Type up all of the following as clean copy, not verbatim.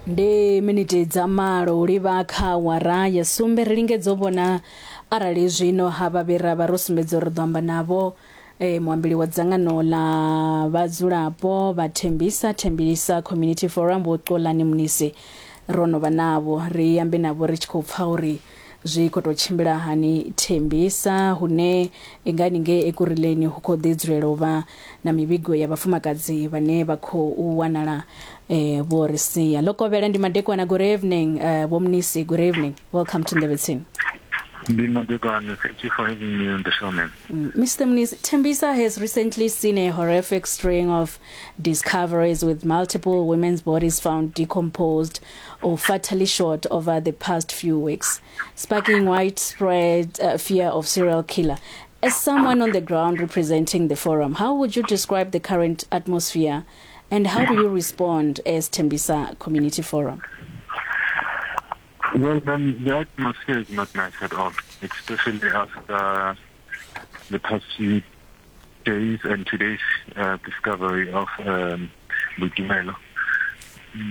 Ndi miniti dza malo u livha kha awara ya sumbe. Ri lingedza u vhona arali zwino ha vha ra vha ro sumbedza uri ri ḓo amba navho muambeli wa dzangano ḽa vhadzulapo vha Thembisa, Thembisa Community Forum, Vho Xolani Mnisi. Ro no vha navho, ri ambe navho ri tshi khou pfa uri zwi khou tou tshimbila hani Thembisa, hune nga haningei Ekurhuleni hu khou ḓi dzulela u vha na mivhigo ya vhafumakadzi vhane vha khou wanala vho ri sia. Ḽo kovhela ndi madekwana. Good evening, Vho Mnisi, good evening. Welcome to Nḓevhe Tsini. Ndi madekwana. Thank you for having me on the show, man. Mr. Mnisi, Tembisa has recently seen a horrific string of discoveries with multiple women's bodies found decomposed or fatally shot over the past few weeks, sparking widespread fear of serial killer. As someone on the ground representing the forum, how would you describe the current atmosphere and how do you respond as Tembisa Community Forum? Well, then the atmosphere is not nice at all, especially after the past few days and today's discovery of Boitumelo.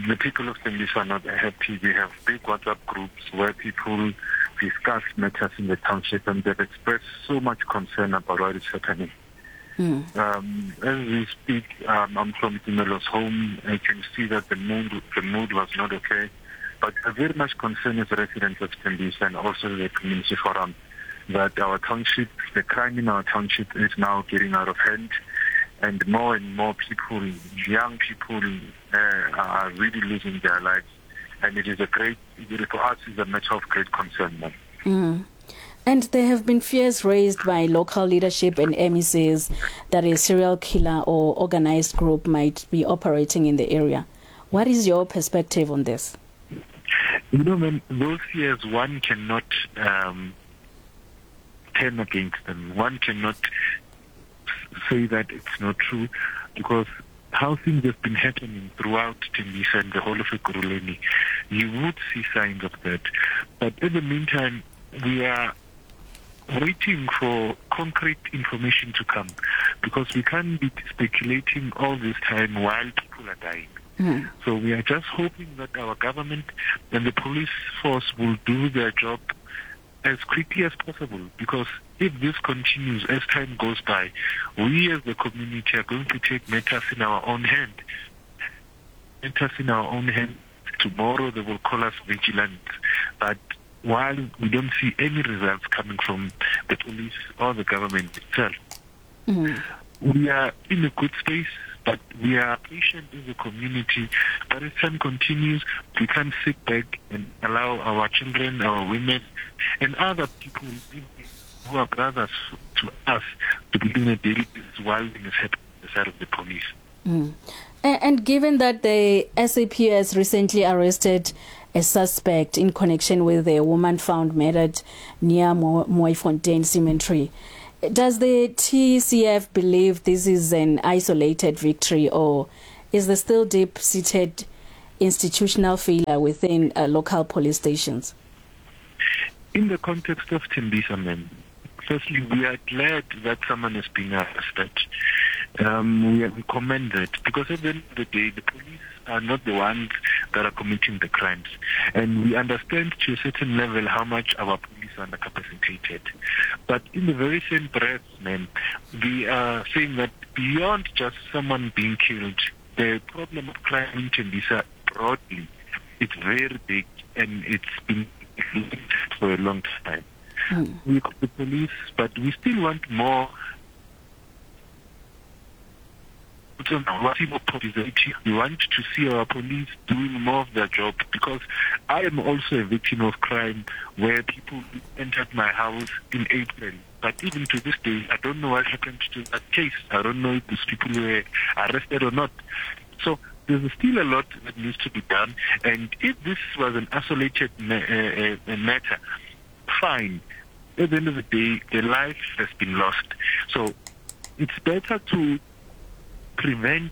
The people of Tembisa are not happy. We have big WhatsApp groups where people discuss matters in the township, and they've expressed so much concern about what is happening. As we speak, I'm from Tumelo's home. I can see that the mood was not okay. But we're very much concerned as residents of Tembisa and also the community forum that our township, the crime in our township is now getting out of hand, and more people, young people, are really losing their lives. And it is a great, for us, it's a matter of great concern. Mm. And there have been fears raised by local leadership and MECs that a serial killer or organized group might be operating in the area. What is your perspective on this? You know, man, those fears, one cannot turn against them. One cannot say that it's not true, because how things have been happening throughout Tembisa and the whole of Ekurhuleni, you would see signs of that. But in the meantime, we are waiting for concrete information to come, because we can't be speculating all this time while people are dying. Mm. So we are just hoping that our government and the police force will do their job as quickly as possible, because if this continues as time goes by, we as the community are going to take matters in our own hand. Matters in our own hand. Tomorrow they will call us vigilant. But while we don't see any results coming from the police or the government itself, we are in a good space, but we are patient as a community. But as time continues, we can't sit back and allow our children, our women, and other people who are brothers to us to be doing a daily business while things happen on the side of the police. Mm. And given that the SAPS recently arrested a suspect in connection with a woman found murdered near Mooifontein Cemetery, does the TCF believe this is an isolated victory, or is there still deep-seated institutional failure within local police stations? In the context of Tembisa, ma'am, firstly, we are glad that someone has been arrested. We commend that, because at the end of the day, the police are not the ones that are committing the crimes. And we understand to a certain level how much our police are undercapacitated. But in the very same breath, ma'am, we are saying that beyond just someone being killed, the problem of crime in Tembisa broadly, it's very big and it's been for a long time. Mm. We call the police, but we still want more. We want to see our police doing more of their job, because I am also a victim of crime where people entered my house in April. But even to this day, I don't know what happened to that case. I don't know if these people were arrested or not. So there's still a lot that needs to be done. And if this was an isolated matter, fine. At the end of the day, the life has been lost. So it's better to prevent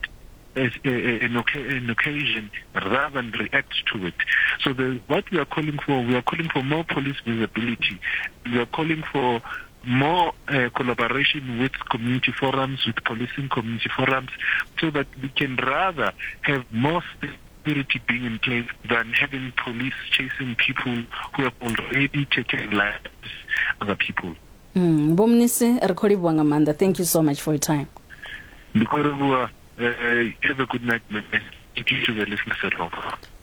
an occasion rather than react to it. So what we are calling for, we are calling for more police visibility. We are calling for more collaboration with community forums, with policing community forums, so that we can rather have more Security being in place than having police chasing people who have already taken lives other people. Mm, Vho Mnisi, ri khou livhuwa nga maanḓa. Thank you so much for your time. Ndi khou livhuwa. Have a good night, man. Thank you to the listeners at home.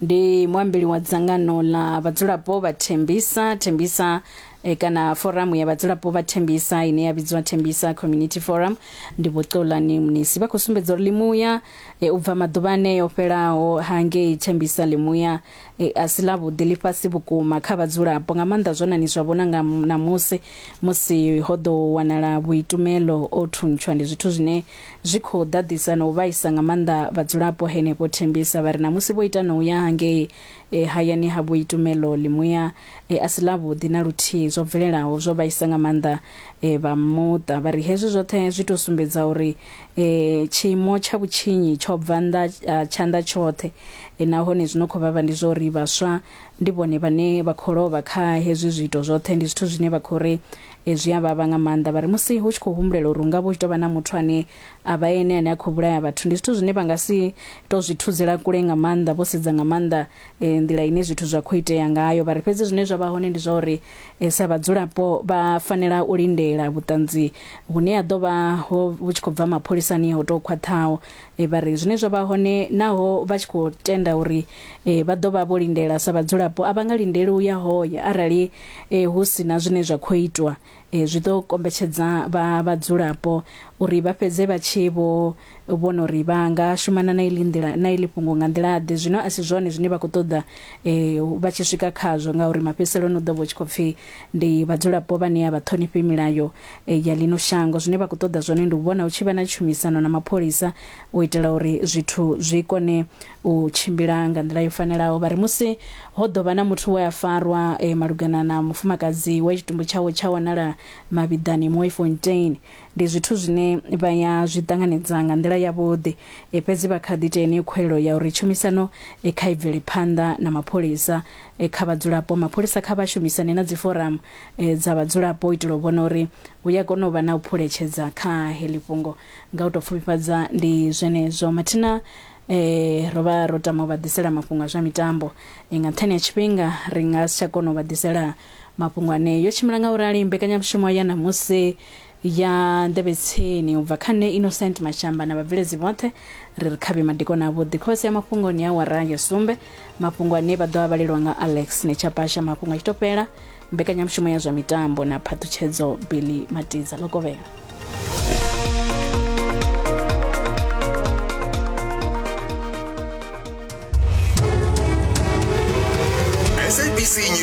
Ndi muambeli wa dzangano ḽa vhadzulapo vha Thembisa, Thembisa e, kana foramu ya vhadzulapo vha Thembisa ine ya vhidzwa Thembisa Community Forum. Ndi Vho Xolani Mnisi, vha khou sumbedza uri ḽimuya e, u bva maḓuvha aneo fhelaho hangei Thembisa ḽimuya e, a si ḽavhuḓi, ḽi fhasi vhukuma kha vhadzulapo nga maanḓa zwo nani zwa vhona nga ṋamusi musi ho ḓo wanala Vhuitumelo o thuntshwa. Ndi zwithu zwine zwi khou ḓaḓisa na u vhaisa nga maanḓa vhadzulapo henefho Thembisa. Vha ri ṋamusi vho ita na u ya hangei e, hayani ha Vhuitumelo ḽimuya e, a si ḽavhuḓi na luthihi. Zwo bvelelaho zwo vhaisa nga maanḓa e, vha muṱa. Vha ri hezwi zwoṱhe zwi tou sumbedza uri e, tshiimo tsha vhutshinyi tsho bva nnḓa ha tshanḓa tshoṱhe e, nahone zwi no khou vhavha ndi zwa uri vhaswa ndi vhone vhane vha khou lovha kha hezwi zwiito zwoṱhe. Ndi zwithu zwine vha khou ri e, zwi a vhavha nga maanḓa. Vha ri musi hu tshi khou humbulela uri hu nga vha hu tshi tou vha na muthu ane a vha ene ane a khou vhulaya vhathu, ndi zwithu zwine vha nga si tou zwi thuzela kule nga maanḓa vho sedza nga maanḓa e, nḓila ine zwithu zwa khou itea ngayo. Vha ri fhedzi zwine zwa vha hone ndi zwa uri e, sa vhadzulapo vha fanela u lindela vhuṱanzi vhune ha ḓo vha ho vhu tshi khou bva mapholisani ho tou khwaṱhaho. E, vha ri zwine zwa vha hone naho vha tshi khou tenda uri e, vha ḓo vha vho lindela sa vhadzulapo, a vha nga lindeli u ya hoya arali e, hu si na zwine zwa khou itwa. E, zwi ḓo kombetshedza vha vhadzulapo uri vha fhedze vha tshi vho vhona uri vha nga shumana na iḽi nḓila na iḽi fhungo nga nḓila ḓe. Zwino a si zwone zwine vha khou ṱoḓa e, vha tshi swika khazwo, ngauri mafhedziseloni u ḓo vha u tshi khou pfhi ndi vhadzulapo vhane a vha ṱhonifhi milayo e, ya ḽino shango. Zwine vha khou ṱoḓa zwone ndi u vhona hu tshi vha na tshumisano na mapholisa u itela uri zwithu zwi kone u tshimbila nga nḓila yo fanelaho. Vha ri musi ho ḓo vha na muthu we a farwa e, malugana na mufumakadzi we tshitumbu tshawe tsha wanala mavhiḓani Mooifontein, ndi zwithu zwine vha ya zwi ṱanganedza nga nḓila yavhuḓi. E, fhedzi vha kha ḓi ita yeneyo khuwelelo ya uri tshumisano e, kha i bvele phanḓa na mapholisa e, kha vhadzulapo. Mapholisa kha vha shumisane na dziforamu e, dza vhadzulapo u itela u vhona uri hu ya kona u vha na u phuletshedza kha heḽi fhungo. Nga u tou pfufhifhadza ndi zwenezwo. Mathina e, ro vha ro tama u vha ḓisela mafhungo a zwa mitambo e, nga nṱhani ha tshifhinga ri nga si tsha kona u vha ḓisela mafhungo ane yo tshimbila nga u rali mbekanyamushumo ya ṋamusi ya nḓevhe tsini u bva kha nṋe Innocent Mashamba na vhabveledzi vhoṱhe ri ri khavhe madikoni avhuḓi. Khosi ya mafhungo ni awara ya sumbe, mafhungo ane vha ḓo a vhalelwa nga Alex Nechapasha. Mafhungo a tshi tou fhela mbekanyamushumo ya zwa mitambo na phaṱhutshedzo Billy Matiza Lokovhela. SABC News.